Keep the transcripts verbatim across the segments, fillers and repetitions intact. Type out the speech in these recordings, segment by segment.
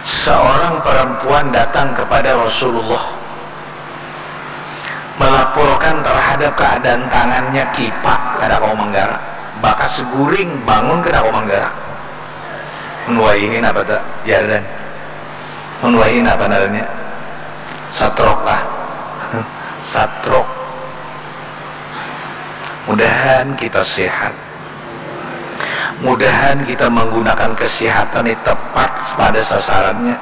Seorang perempuan datang kepada Rasulullah melaporkan terhadap keadaan tangannya kipak, kada kawa menggerak, bakas guring, bangun kada kawa menggerak. Mun wahini napa ta, Jardan? Mun wahini napa ngarannya? Satrok kah? Satrok. Mudahan kita sehat. Mudahan kita menggunakan kesehatan ni tepat pada sasarannya.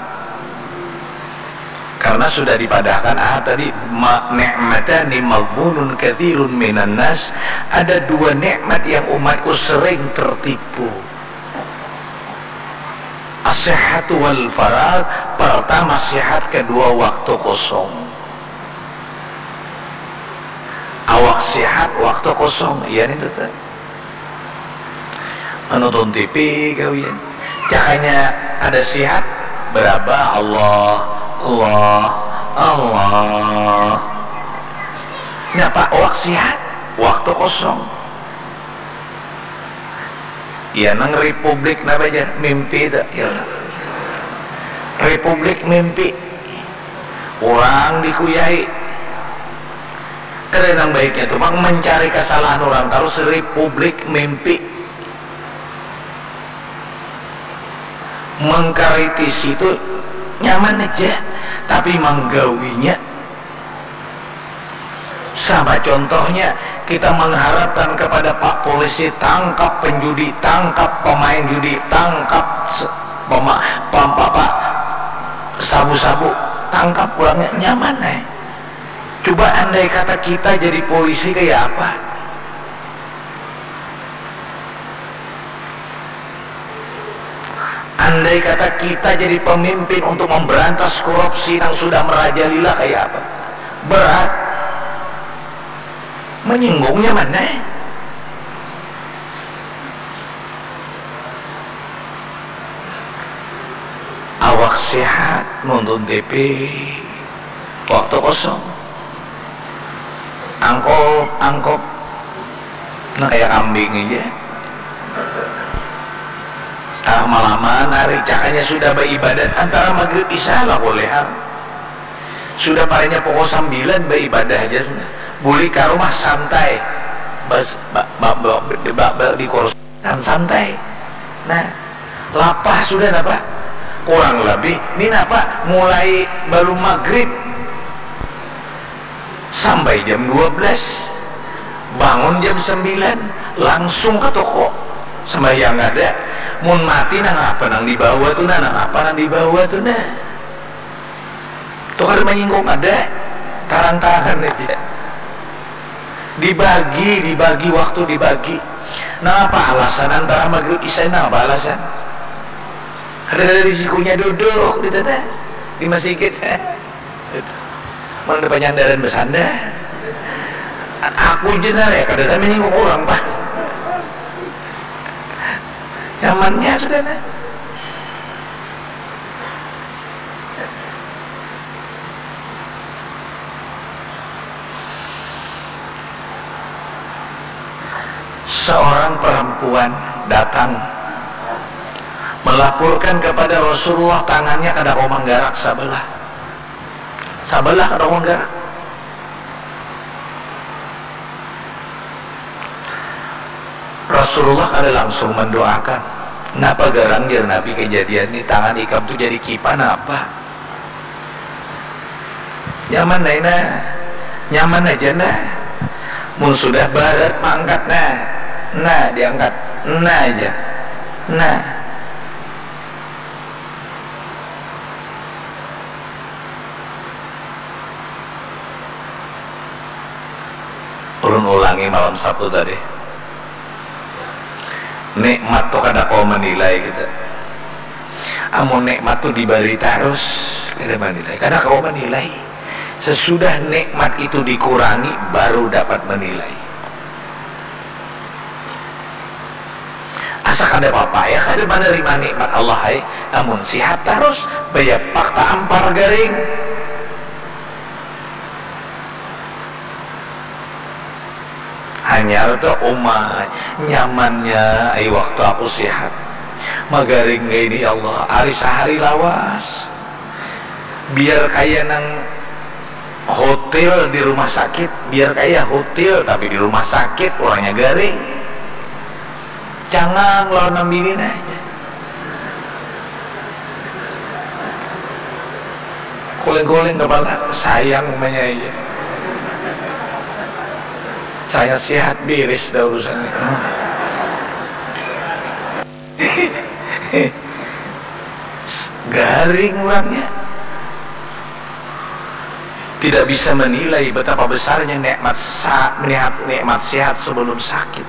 Karena sudah dipadahkan ah tadi, ma-, ni'matani maghbunun katsirun minan nas, ada dua nikmat yang umatku sering tertipu. As-sihhatu wal faragh, pertama sehat, kedua waktu kosong. Awak sehat, waktu kosong, iya ni tuh. Menonton T V gawian. Cakanya ada sehat, berabah Allah, Allah, Allah. Napa awak sehat, waktu kosong. Iya nang republik napa aja, mimpi itu, ya. Republik mimpi. Urang dikuyai. Kada nang baiknya tu pang mencari kesalahan orang tarus, republik mimpi. Mengkritisi tu nyaman aja, tapi manggawinya sama contohnya kita mengharapkan kepada Pak Polisi tangkap penjudi, tangkap pemain judi, tangkap se-, pema-, pam-, apa, sabu-sabu, tangkap kurangnya nyaman eh. Coba andai kata kita jadi polisi kayak apa? Andai kata kita jadi pemimpin untuk memberantas korupsi yang sudah merajalela kayak apa? Berat. Menyinggungnya mana? Awak sehat nonton T V. Waktu kosong. Angkop, angkop. Nah, kayak kambing aja. Setengah malaman hari, cakanya sudah beribadat antara maghrib isya lah boleh. Sudah paranya pukul sembilan beribadah aja sudah. Buli ke rumah santai. Bas, ba, ba, ba, ba, ba, di kursi. Dan santai. Nah, lapah sudah napa? Kurang lebih, ni napa? Mulai balum maghrib sampai jam dua belas. Bangun jam sembilan, langsung ke toko. Sembahyang ada. Mun mati, nang apa nang dibawa tu nah, nang apa nang dibawa tu nah. Tu kada manyinggung ada, tarang-tarangan aja. Dibagi, dibagi waktu, dibagi. Nang apa alasan antara maghrib isya, nang apa alasan? Ada, ada risikonya duduk di sana, di masjid. Mun ada panyandaran bersandar. Aku je nah, ya, kada ada manyinggung urang pang. Nyamannya sudah nah. Seorang perempuan datang melaporkan kepada Rasulullah, tangannya kada kawa manggarak sabelah. Sabelah kada kawa manggarak. Rasulullah kada langsung mendoakan. Napa garang, jar Nabi, kejadian ni, tangan ikam tu jadi kipan apa? Nyaman ai nah, nyaman aja nah. Mun sudah barat maangkat nah, nah diangkat, nah aja, nah. Ulun ulangi malam Sabtu tadi. Nikmat tu kada kawa menilai kita. Amun nikmat tu dibari tarus, kada menilai, kada kawa menilai. Sesudah nikmat itu dikurangi, baru dapat menilai. Asa kada papa ya kada menerima nikmat Allah ai. Amun sihat tarus, baya pakta ampar garing. Hanyar tu uma nyamannya ai waktu aku sihat. Magaring kaini ya Allah, ari sahari lawas. Biar kaya nang hotel di rumah sakit, biar kaya hotel tapi di rumah sakit urangnya garing. Cangang lawan nang bini nah aja. Kuling-kuling kepala, sayang umanya aja. Saya sehat biris dah urusan ini. Garing urangnya. Tidak bisa menilai betapa besarnya nikmat sa- melihat nikmat sehat sebelum sakit.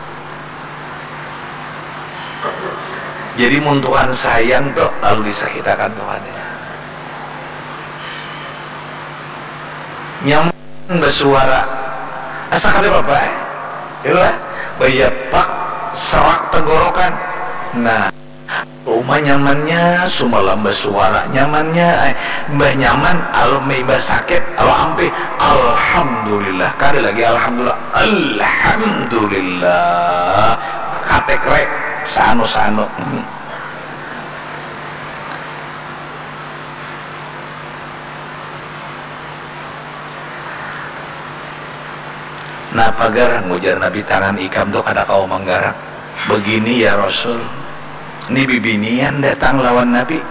Jadi mun Tuhan sayang tu lalu disakitakan Tuhan ya. Nyaman basuara. Asa kada apa-apa eh. Itulah. Bayapak serak tenggorokan. Nah, uma nyamannya, sumalam basuara nyamannya, eh, imbah nyaman, al- imbah sakit, al ampih, alhamdulillah, kada lagi alhamdulillah, alhamdulillah, katek rek, sanu-sanu. Napa garang ujar Nabi, tangan ikam tu kada kawa manggarak. Begini ya Rasul, ni bibinian datang lawan Nabi.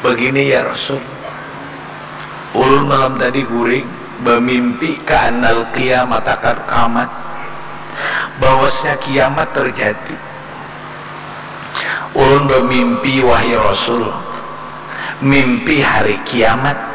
Begini ya Rasul, ulun malam tadi guring bamimpi ka annal qiyamata qad qamat, bahwasnya kiamat terjadi. Ulun bamimpi wahai Rasul, mimpi hari kiamat.